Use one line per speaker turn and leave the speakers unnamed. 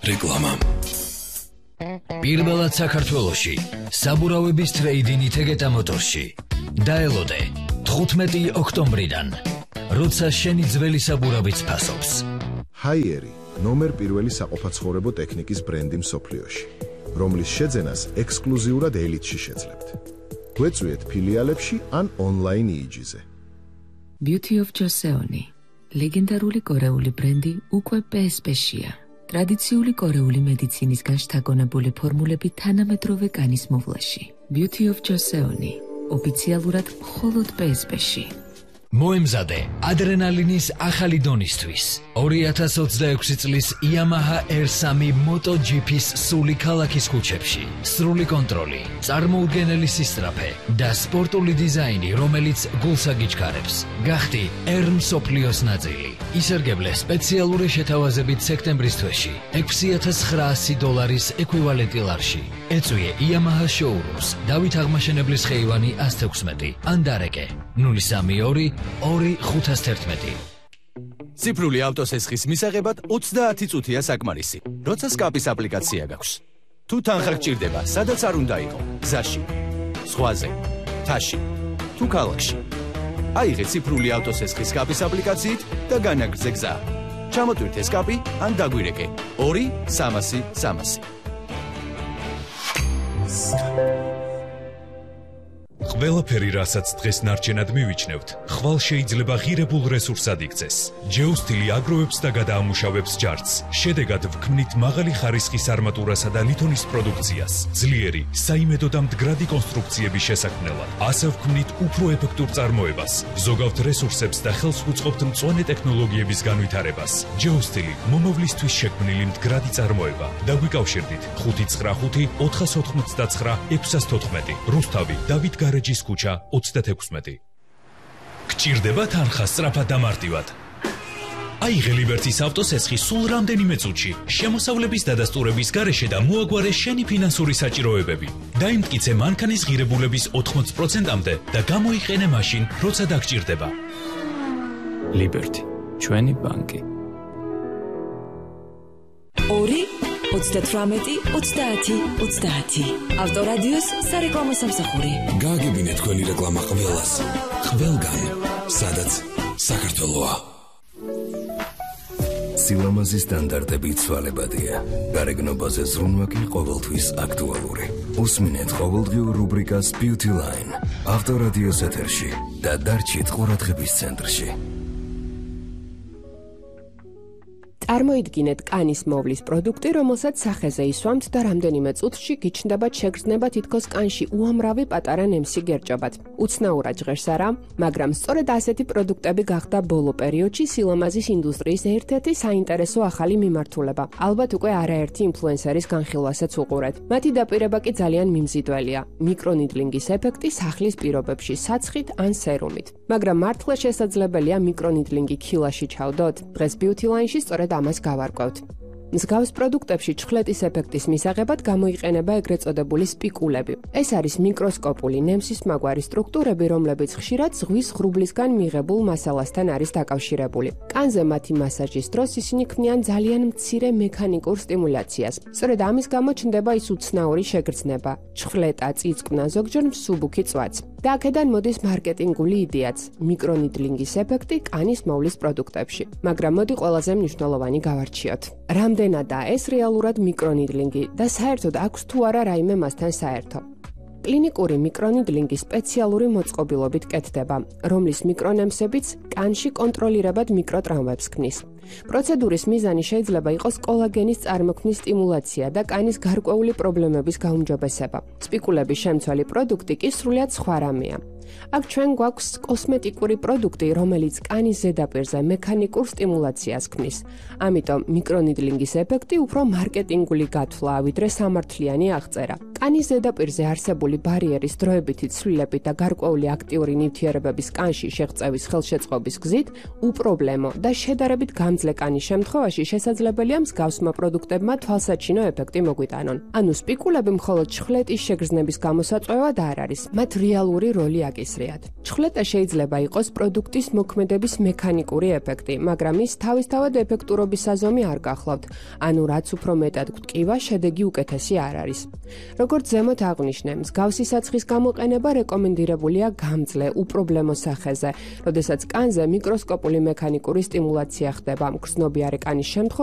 რეკლამა. პირველად საქართველოში საბურავების ტრეიდინი თეგეტა მოტორში. დაელოდე 15 ოქტომბრიდან, როცა შენი ძველი საბურავიც ფასობს.
ჰაიერი ნომერ პირველი საყოფაცხოვრებო ტექნიკის ბრენდი მსოფლიოში, რომლის შეძენას ექსკლუზიურად ელიტში შეძლებთ. გვეწვიეთ ფილიალებში ან ონლაინ იიჯიზე.
Beauty of Joseon, ლეგენდარული კორეული ბრენდი უკვე PSP-შია. ტრადიციული კორეული მედიცინისგან შთაგონებული ფორმულები თანამედროვე კანის მოვლაში. Beauty of Joseon, ოფიციალურად მხოლოდ PSP-ში.
მოემზადე ადრენალინის ახალი დონისთვის. 2026 წლის Yamaha R3 MotoGP-ს სული ქალაქის ქუჩებში. სრული კონტროლი, წარმოუდგენელი სისწრაფე და სპორტული დიზაინი, რომელიც გულს აგიჩქარებს. გახდი R მსოფლიოს ნაწილი. ისერგებლე სპეციალური შეთავაზებით სექტემბრის თვეში $6,900 ეკვივალენტი ლარში. ეწვიე Yamaha showrooms, დავით აღმაშენებლის ხეივანი 116 ან დარეკე 032 2-511.
ციფრული ავტოსესხის მისაღებად 30 წუთია საკმარისი, როცა სკაპის აპლიკაცია გაქვს. თუ თანხა გჭირდება, სადაც არ უნდა იყო, გზაში, ზღვაზე, მთაში, თუ ქალაქში. აიღე ციფრული ავტოსესხის სკაპის აპლიკაციით და განაგრძე გზა. ჩამოტვირთე სკაპი ან დაგვირეკე 2-300-300.
ყველაფერი, რასაც დღეს ნარჩენად მივიჩნევთ, ხვალ შეიძლება ღირებულ რესურსად იქცეს. ჯეოსტილი აგროვებს და გადაამუშავებს ჯარცს. შედეგად ვქმნით მაღალი ხარისხის არმატურასა და ლითონის პროდუქციას, ძლიერი, საიმედო და მდგრადი კონსტრუქციების შესაქმნელად. ასე ვქმნით უფრო ეფექტურ წარმოებას, ზოგავთ რესურსებს და ხელს ვუწყობთ მწვანე ტექნოლოგიების განვითარებას. ჯეოსტილი მომავლისთვის შექმნილი მდგრადი წარმოება. დაგვიკავშირდით 595 499 614. რუსთავი, დავით გარეჯის ქუჩა 36. გჭირდება თანხა სწრაფად და მარტივად. აიღე ლიბერტის ავტოსესხი სულ რამდენიმე წუთში, შემოსავლების დადასტურების გარეშე და მოაგვარე შენი ფინანსური საჭიროებები. დაიმტკიცე მანქანის ღირებულების 80%-მდე და გამოიყენე მაშინ, როცა დაგჭირდება.
ლიბერტი, ჩვენი ბანკი.
2-38-30-30. ავტორადიოს სარეკლამო სამსახური.
გააგებინე თქვენი რეკლამა ყველას, ყველგან, სადაც საქართველოა.
სილამაზის სტანდარტები ცვალებადია. გარეგნობაზე ზრუნვა კი ყოველთვის აქტუალური. უსმინეთ ყოველდღიურ რუბრიკას Beauty Line, ავტორადიოს ეთერში და დარჩით ყურადღების ცენტრში.
წარმოიდგინეთ კანის მოვლის პროდუქტი, რომელსაც სახეზე ისვამთ და რამდენიმე წუთში გიჩნდებათ შეგრძნება თითქოს კანში უამრავი პატარა ნემსი გერჭობათ. უცნაურად ჟღერს არა, მაგრამ სწორედ ასეთი პროდუქტები გახდა ბოლო პერიოდში სილამაზის ინდუსტრიის ერთ-ერთი საინტერესო ახალი მიმართულება. ალბათ უკვე არაერთი ინფლუენსერის განხილვასაც უყურეთ. მათი დაპირება კი ძალიან მიმზიდველია. მიკრონიდლინგის ეფექტი სახლის პირობებში საცხით ან სერუმით. მაგრამ მართლა შესაძლებელია მიკრონიდლინგი ქილაში ჩავდოთ? დღეს Beauty Line-ში სწორედ ამას გავარკვევთ. მსგავს პროდუქტებში ჩხლეტის ეფექტის მისაღებად გამოიყენება ეგრეთ წოდებული სპიკულები. ეს არის მიკროსკოპული ნემსის მაგვარი სტრუქტურები, რომლებიც ხშირად ზღვის ღრუბლისგან მიღებულ მასალასთან არის დაკავშირებული. კანზე მათი მასაჟის დროს ისინი ქმნიან ძალიან მცირე მექანიკურ სტიმულაციას. სწორედ ამის გამო ჩნდება ის უცნაური შეგრძნება, ჩხლეტა, წიწკნა, ზოგჯერ მსუბუქი წვაც. და აქედან მოდის მარკეტინგული იდეაც, მიკრონიდლინგის ეფექტი კანის მოვლის პროდუქტებში. მაგრამ მოდი ყველაზე მნიშვნელოვანი გავარჩიოთ. რამდენადაა ეს რეალურად მიკრონიდლინგი და საერთოდ აქვს თუ არა რაიმე მასთან საერთო. კლინიკური მიკრონიდლინგი სპეციალური მოწყობილობით კეთდება, რომლის მიკრონემსებიც კანში კონტროლირებად მიკროტრამვებს ქმნის. პროცედურის მიზანი შეიძლება იყოს კოლაგენის წარმოქმნის სტიმულაცია და კანის გარკვეული პრობლემების გაუმჯობესება. სპიკულების შემცველი პროდუქტი კი სრულიად სხვა რამეა. აქ ჩვენ გვაქვს კოსმეტიკური პროდუქტი, რომელიც კანის ზედაპირზე მექანიკურ სტიმულაციას ქმნის. ამიტომ მიკრონიდლინგის ეფექტი უფრო მარკეტინგული გათვლა, ვიდრე სამართლიანი აღწერა. კანის ზედაპირზე არსებული ბარიერის დროებითი ცვლილები და გარკვეული აქტიური ნივთიერებების კანში შეღწევის ხელშეწყობის გზით უპრობლემო და შედარებით გამძლე კანის შემთხვევაში შესაძლებელია მსგავსმა პროდუქტებმა თვალსაჩინო ეფექტი მოგვიტანონ. ანუ სპიკულები მხოლოდ ჩხლეტის შეგრძნების გამოსაწვევად არ არის, მათ რეალური როლი დააკისრიათ. ჩხვლეტა შეიძლება იყოს პროდუქტის მოქმედების მექანიკური ეფექტი, მაგრამ ის თავისთავად ეფექტურობის საზომი არ გახლავთ, ანუ რაც უფრო მეტად გვტკივა, შედეგი უკეთესი არ არის. როგორც ზემოთ აღვნიშნე, მსგავსი საცხის გამოყენება რეკომენდირებულია გამძლე, უპრობლემო სახეზე, როდესაც კანზე მიკროსკოპული მექანიკური სტიმულაცია ხდება, მგრძნობიარე კანის შემთხვევაში